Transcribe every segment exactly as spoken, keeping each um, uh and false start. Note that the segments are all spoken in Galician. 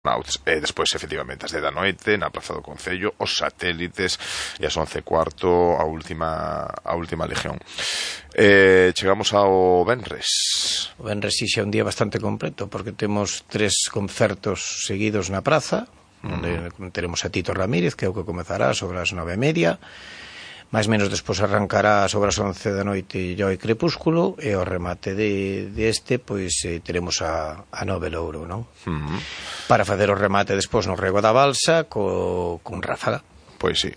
Nauts. E despois, efectivamente, as de da noite na Praza do Concello, os satélites, e as once e cuarto a última a última legión. Eh, chegamos ao Venres. O Venres sí xa é un día bastante completo, porque temos tres concertos seguidos na praza, onde mm. teremos a Tito Ramírez, que é o que comezará sobre as nove e media. Mais menos despois arrancará sobre as once da noite Joy Crepúsculo, e ao remate de, de este, pois eh, teremos a, a Nove Louro, non? Uh-huh. Para facer o remate despois no Rego da Balsa co, con Ráfaga. Pois sí.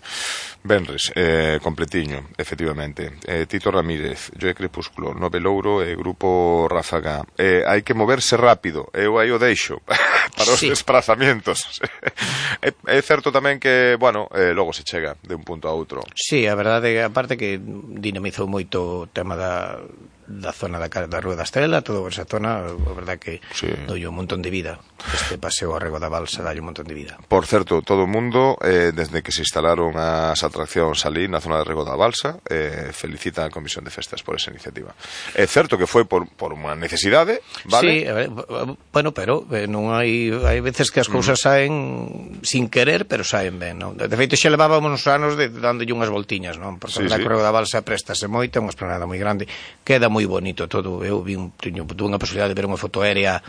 Venres, eh, completiño, efectivamente. Eh, Tito Ramírez, Joy Crepúsculo, Nove Louro e Grupo Ráfaga. Eh, hai que moverse rápido, eu aí o deixo para os sí. desplazamientos. é, é certo tamén que, bueno, eh, logo se chega de un punto a outro. Sí, a verdade, aparte que dinamizou moito o tema da, da zona da, da Rúa da Estrela, toda esa zona, a verdade que sí. doi un montón de vida. Este paseo ao Rego da Balsa dai un montón de vida. Por certo, todo o mundo, eh, desde que se instalaron as atraccións ali na zona de Rego da Balsa, eh, felicita a Comisión de Festas por esa iniciativa. É certo que foi por, por unha necesidade, vale? Sí, eh, bueno, pero eh, non hai hai veces que as cousas mm. saen sin querer, pero saen ben, non? De feito, xa levábamos uns anos de, dándolle unhas voltiñas, non? Porque sí, a sí. Rego da Balsa préstase moito, é unha esplanada moi grande, queda moi bonito todo. Eu vi un, teño, tuve unha posibilidade de ver unha foto aérea.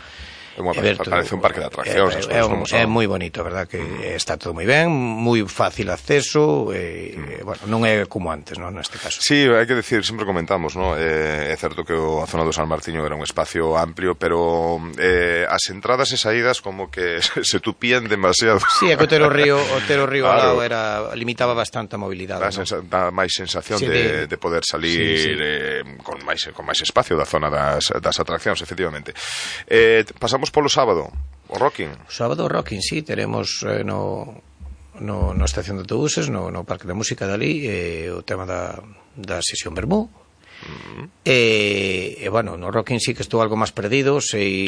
Unha, parece un parque de atraccións. É, é, un, é moi bonito, verdad, que mm. está todo moi ben, moi fácil acceso, e, mm. bueno, non é como antes, non, neste caso. Sí, hai que decir, sempre comentamos, ¿no? Eh, é certo que a zona do San Martiño era un espacio amplio, pero eh, as entradas e saídas como que se tupían demasiado. Sí, é que o Otero Río, o Otero Río claro. ao lado era, limitaba bastante a mobilidade. Dá, ¿no? sensa, dá máis sensación sí, de, de poder salir sí, sí. Eh, con máis con máis espacio da zona das, das atraccións, efectivamente. Eh, pasamos polo sábado, o Rocking. O sábado o Rocking, sí, teremos eh, no, no, no estación de autobuses, no, no Parque da Música dali, eh, o tema da, da sesión Bermú. Uh-huh. E, e bueno, no Rocking sí que estou algo máis perdido. Sei,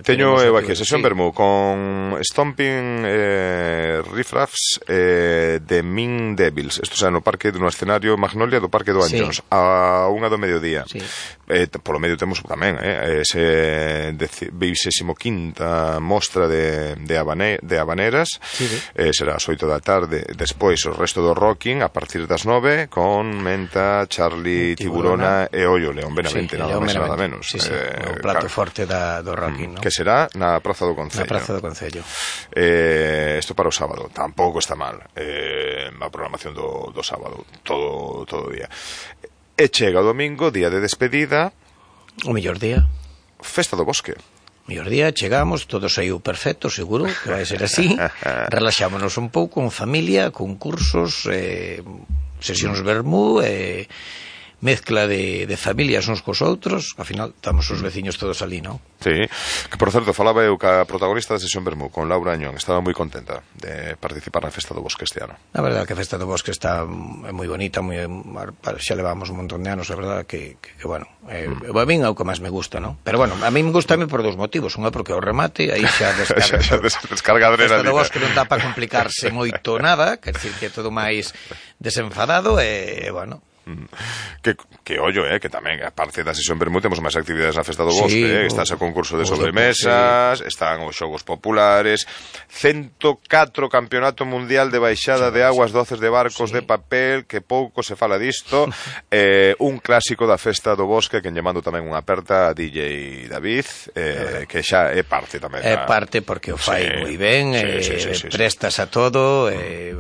teño eu aquí a sesión sí. Bermú con Stomping, eh, Riffraffs eh, de Mean Devils. Isto xa no parque dun escenario Magnolia do Parque do Anllóns sí. a unha do mediodía sí. eh, Polo medio temos tamén eh, ese vigésimo quinta mostra de, de, habane, de habaneras sí, sí. Eh, será ás oito da tarde. Despois o resto do Rocking a partir das nove con Menta, Charlie, Tiburona e Ollo León Benavente, sí, nada máis e nada menos. Sí, sí, eh, o plato claro. forte da, do Rocking, ¿no? Que será na Praza do Concello. Na Praza do Concello. Eh, isto para o sábado, tampouco está mal. Eh, a programación do, do sábado, todo todo o día. E chega o domingo, día de despedida. O mellor día. Festa do Bosque. Mellor día, chegamos, todo saiu perfecto, seguro que vai ser así. Relaxámonos un pouco, con familia, con cursos, eh, sesións Bermú, e... Eh, mezcla de, de familias uns cos outros, ao final estamos os veciños todos ali, non? Sí, que por certo falaba eu ca protagonista da sesión Bermú, con Laura Añón, estaba moi contenta de participar na Festa do Bosque este ano. A verdade que a Festa do Bosque está moi bonita, moi, xa levamos un montón de anos, a verdade que, que, que bueno, eh, mm. a min é o que máis me gusta, non? Pero bueno, a mí me gusta por dous motivos, unha porque o remate, aí xa descarga, xa, xa descarga a Festa do Bosque non dá para complicarse moito nada, quer dizer que é todo máis desenfadado e, bueno, Que, que ollo, eh, que tamén a parte da sesión Bermú temos máis actividades na Festa do Bosque, sí, eh, está o concurso de sobremesas, sí. están os xogos populares, ciento catro Campeonato Mundial de Baixada sí, de Aguas Doces de Barcos sí. de Papel, que pouco se fala disto, eh, un clásico da Festa do Bosque, que lle mando tamén unha aperta a D J David, eh, que xa é parte tamén. É parte porque o fai sí, moi ben, sí, eh, sí, sí, sí, prestas sí. a todo, eh,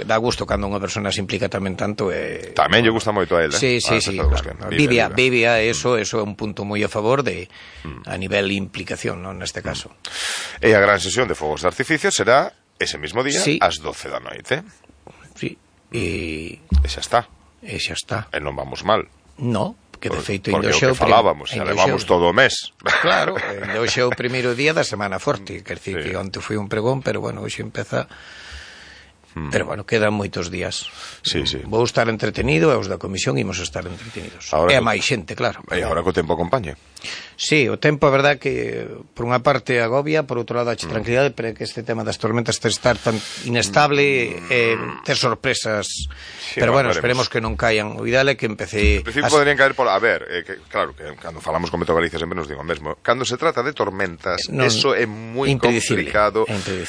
dá gusto cando unha persona se implica tamén tanto. Eh, tamén lle gusta moito a él, eh? Sí, sí, sí, claro. Vivia, vivia, eso, eso é un punto moi a favor de a nivel implicación, non, neste caso. E a gran sesión de fogos de artificio será ese mismo día, sí. ás doce da noite. Sí. E e xa está. E xa está. E non vamos mal. No, que de feito porque o que falábamos, xa levamos todo o mes. Claro, hoxe é o primeiro día da semana forte, quer dizer sí. que onte foi un pregón, pero bueno, hoxe empeza Mm. Pero, bueno, quedan moitos días. Sí, sí. Vou estar entretenido e os da comisión imos estar entretenidos. Ahora e a co... máis xente, claro. E agora co tempo acompañe. Sí, o tempo, a verdad, que por unha parte agobia, por outro lado, hache mm. tranquilidade, pero que este tema das tormentas ter estar tan inestable, mm. eh, ter sorpresas. Sí, pero, bueno, esperemos que non caian. O ideal é que empece... En principio as... poderían caer por... A ver, eh, que, claro, que cando falamos con Meteo Galicia sempre nos digo o mesmo. Cando se trata de tormentas, no, eso é moi complicado.